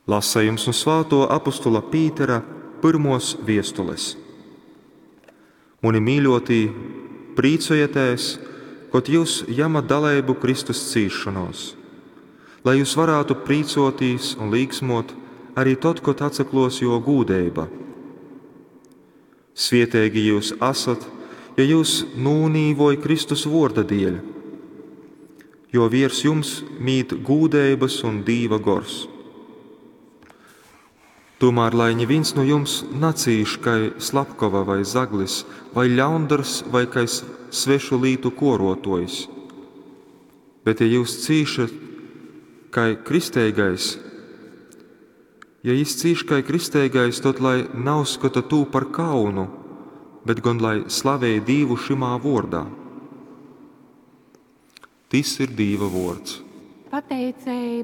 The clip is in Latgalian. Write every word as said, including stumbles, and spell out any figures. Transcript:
Lasejums nu svātuo apostula Pītera pyrmuos viestules. Muni mīļuotī, prīcojatēs, kod jyus jamat daleibu Kristus cīsšonōs, lai jyus varātu prīcōtīs un līksmōt ari tod, kod atsaklōs Jō gūdeiba. Svieteigi jyus asat, ja jyus nūnīvoj Kristus vuorda dieļ, jo viers jums mīt gūdeibys un Dīva gors. Tūmār lai nivīns nu jums nacīš kai slapkova vai zaglis, vai ļaundars, vai kai svešu lītu kuoruotuojs. Bet ja jyus cīšat kai kristeigais, ja jis cīš kai kristeigais, tod lai nauzskota tū par kaunu, bet gon lai slavej Dīvu šymā vuordā. Tys ir Dīva vuords. Pateiceiba